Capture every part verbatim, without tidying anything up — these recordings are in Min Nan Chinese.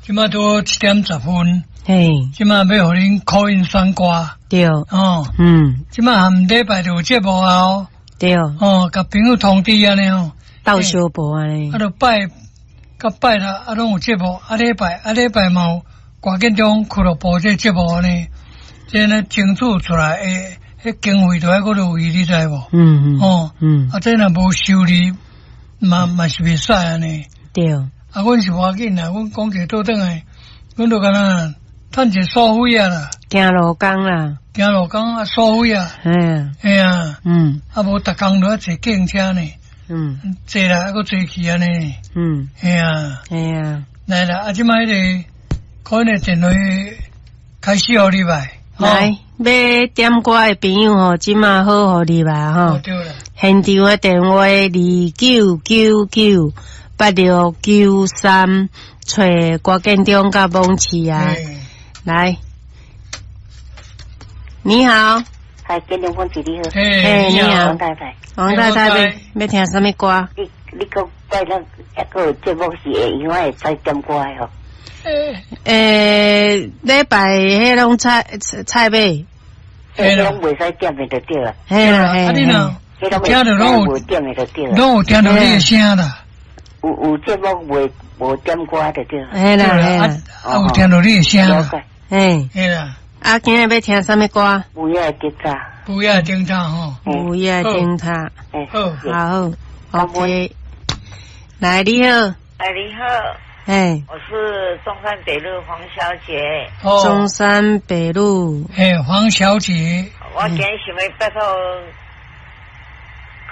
這馬拄好七點十分，嘿，這馬欲予恁 call in 選歌，對，哦，嗯，這馬含禮拜就有節目啊哦，對，哦，共朋友通知按呢吼，鬥相報按呢，啊，就拜，佮拜六啊，攏有節目，啊禮拜啊禮拜嘛有歌建中俱樂部這節目呢，這呢爭取出來的，彼經費都愛閣落去，你知無？嗯嗯，哦，嗯，啊，這若無收入，嘛嘛是袂使按呢。對，啊，阮是無要緊啦，阮講一個倒轉來，阮就敢若趁一個所費啊啦，行路工啦，行路工啊，所費啊，嘿，嘿啊，嗯，啊無逐工都愛坐計程車呢，嗯，坐來啊閣坐去按呢，嗯，嘿啊，嘿啊，來啦，啊這擺彼個可能電話開始予入來，來，欲點歌的朋友吼，這馬好予入來吼，對啦，現場的電話二九九九八六九三，揣郭建中佮網市啊，來，你好，嗨，建中網市你好，嘿，你好，王太太，王太太欲欲聽啥物歌？你你講拜六抑閣有節目是會用會使點歌的吼？欸，禮拜彼攏菜菜尾，彼攏袂使點的就對啦。嘿啦，啊你若聽著攏有點的就對啦，攏有聽著你的聲啦。有有節目袂無點歌就對啦。嘿啦，嘿啦，啊有聽著你的聲啦。嘿，嘿啦。啊，今日欲聽啥物歌？午夜的燈塔。午夜的燈塔吼。午夜的燈塔。好，好，OK。來，你好。哎，你好。哎，我是中山北路黃小姐。哦，中山北路。嘿，黃小姐。我今日想欲拜託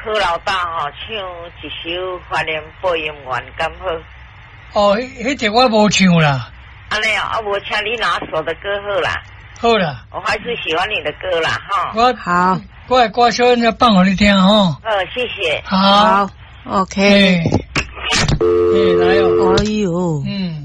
柯老大吼，唱一首《懷念播音員》敢好？哦，彼彼個我無唱啦。按呢啊，無請你拿手的歌好啦。好啦。我還是喜歡你的歌啦，哈。我好，我的歌小陣放予你聽吼。好，謝謝。好，OK。欸，來哦。哎喲。嗯。